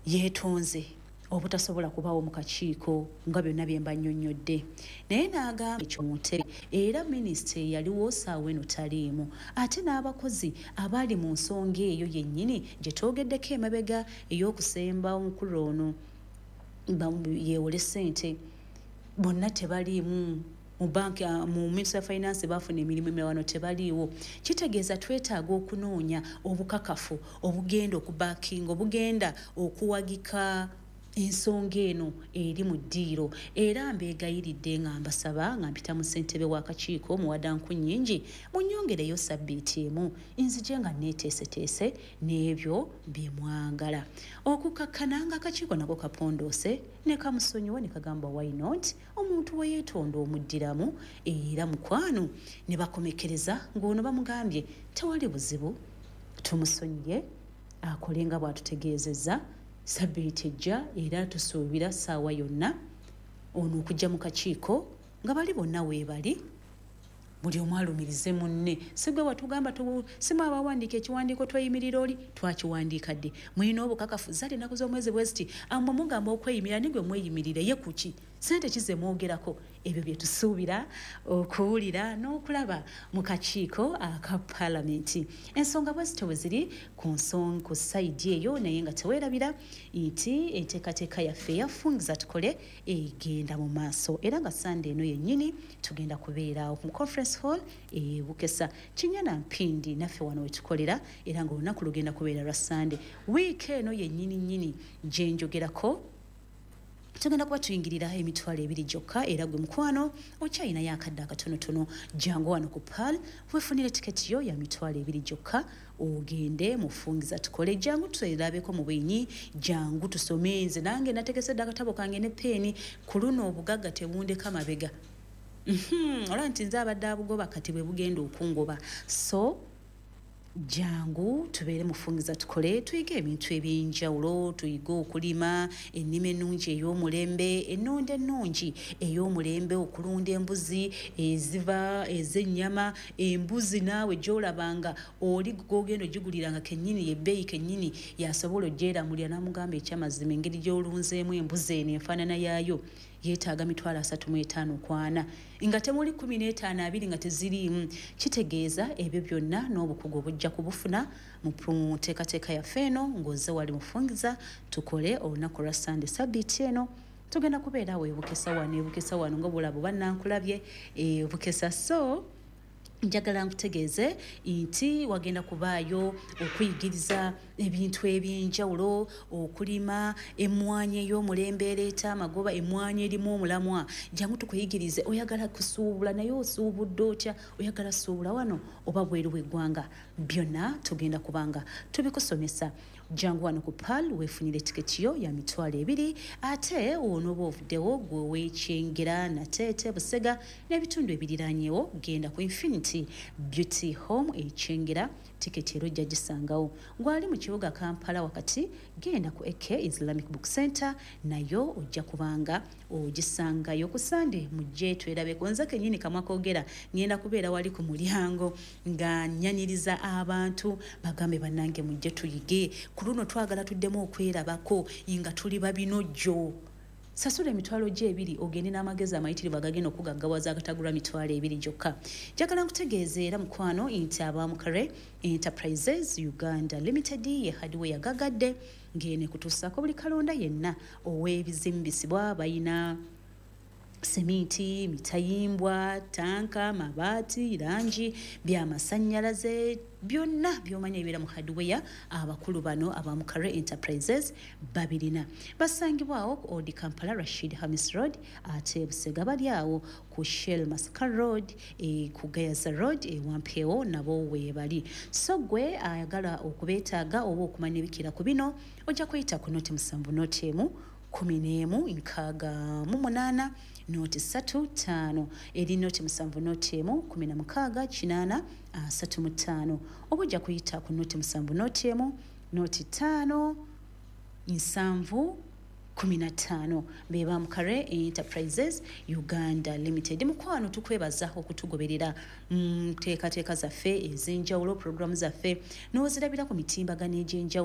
Yeetonze obutasobola kubaawo mu kakiiko nga byonna bye mba nnyonnyodde, naye n'agamba ekyo mu ntebe era minisita eyaliwo saawa eno taliimu, ate n'abakozi abaali mu nsonga eyo yennyini gye twogeddeko emabega ey'okusemba omukulu ono yeewole ssente bonna tebaliimu mu banki, mu Ministry of Finance bafuna emirimu emirala, wano tebaliiwo. Kitegeeza twetaaga okunoonya obukakafu obugenda okubackinga, obugenda okuwagika ensonga eno eri mu ddiiro. Era mbeegayiridde nga mbasaba nga mpita mu ssentebe w'akakiiko Muwadanku Nnyingi, munnyongereyo sabbiiti emu nzije nga neeteeseteese n'ebyo bye mwagala. Okukakkana nga akakiiko nako kapondoose ne kamusonyiwa ne kagamba, "Why not? Omuntu we yeetonda omuddiramu." Era mukwano ne bakomekereza ng'ono bamugambye tewali buzibu, tumusonyiye akole nga bw'atutegeezezza sabbiiti ejja. Era tusuubira ssaawa yonna ono okujja mu kakiiko nga bali bonna weebali, buli omu alumirize munne. Sigwe watugamba, simu abawandiika ekiwandiiko tweyimirira oli twakiwandiika dde, mulina obukakafu zaali ennaku z'omwezi bwe ziti, amwe mugamba okweyimirira nigwe mweyimirire ye kuki, sente kize mwogerako. Ebyo bye tusuubira okuwulira n'okulaba mu kakiiko aka paalamenti. Ensonga bwe zityo bwe ziri ku nsonga ku side eyo, naye nga teweerabira nti enteekateeka yaffe eyafungiza tukole egenda mu maaso, era nga Sande eno yennyini tugenda kubeera mu Conference Hall e Bukesa Kinyana Mpindi, naffe wano wetukolera, era nga olunaku lugenda kubeera lwa Sande wiiki eno yennyini nnyini gyenjogerako. Tugenda kuba tuyingirira 20,000 gyokka, era gwe mukwano okyayinayo akadde akatonotono, jangu wano ku Pearl wefunire tiketi yo ya 20,000 gyokka, ogende mufungiza tukole. Jangu twerabeko mu bwenyi, jangu tusome. Nze nange nategesedde akatabo kange ne peeni. Ku luno obugagga tebundeka mabega. Olaba nti nze abadde abugoba, kati bwe bugenda okungoba. So jangu tubeere mufungiza tukole, tuyige ebintu ebyenjawulo, tuyige okulima ennima ennungi ey'omulembe, ennunda ennungi ey'omulembe, okulunda embuzi eziva ez'ennyama, embuzi naawe gy'olabanga oli gogenda ogiguliranga kennyini ebbeeyi kennyini yasobola ogyeramulira n'amugamba ekyamazima engeri gy'olunzeemu embuzi eno enfaanana yaayo yeetaaga 35,000 kwana, nga temuli 15, 20 nga teziriimu. Kitegeeza ebyo byonna n'obukugu obujja kubufuna mu nteekateeka yaffe eno ng'ozze wali mufungiza tukole olunaku lwa Sande sabbiiti eno. Tugenda kubeera awo ebukesa wano, ebukesa wano nga bulabo bannankulabye ebukesa. So njagala nkutegeeze nti wagenda kubaayo okuyigiriza ebintu ebyenjawulo, okulima emmwanyi ey'omulembe ereeta amagoba, emmwanyi erimu omulamwa. Jangu tukuyigirize. Oyagala kusuubula, naye osuubudde otya? Oyagala suubula wano oba bweru w'eggwanga? Byonna tugenda kubanga tubikusomesa. Jangu wano ku Pearl weefunire tiketi yo ya 20,000. Ate onooba ovuddewo gwe weekyengera, Nateete, Busega n'ebitundu ebiriranyewo, genda ku Infinity Beauty Home ekyengera, tiketi era ojja gisangawo. Gwali mu kibuga Kampala wakati, genda ku AK Islamic Book Center, nayo ojja kubanga ogisangayo. Ku Sande mujje twerabeko. Nze kennyini kamwa koogera ngenda kubeera wali ku mulyango nga nyaniriza abantu, bagambe, "Bannange, mujje tuyige." Ku luno twagala tuddemu okwerabako nga tuli babinojjo. Sasula 20,000 ogende n'amagezi amayitirivu agagenda okugaggawaza agatagulwa 20,000 gyokka. Njagala nkutegeeza era mukwano nti abamukare Enterprises Uganda Limited ye hardware yagagadde ng'eno ekutuusaako buli kalonda yenna ow'ebizimbisibwa. Bayina seminti, mitayimbwa, tanka, mabaati, langi, byamasannyalaze, byonna byomanya ebibeera mu hardware, abakulu bano abamukare Enterprises babirina. Basangibwawo ku Old Kampala, Rashid Hamis Road, ate Busega bali awo ku Shell Masaka Road, ku Gayaza Road ewampeewo nabo weebali. So gwe ayagala okubeetaaga oba okumanya ebikira ku bino, ojja kuyita ku 07 01 11 68 035, eri 07 01 16 80 35, oba ojja kuyita ku 07 01 05 70 15. Be bamukare Enterprises Uganda Limited. Mukwano, tukwebaza okutugoberera mu nteekateeka zaffe ez'enjawulo, puroguramu zaffe n'ozirabira ku mitimbagano egy'enjawulo.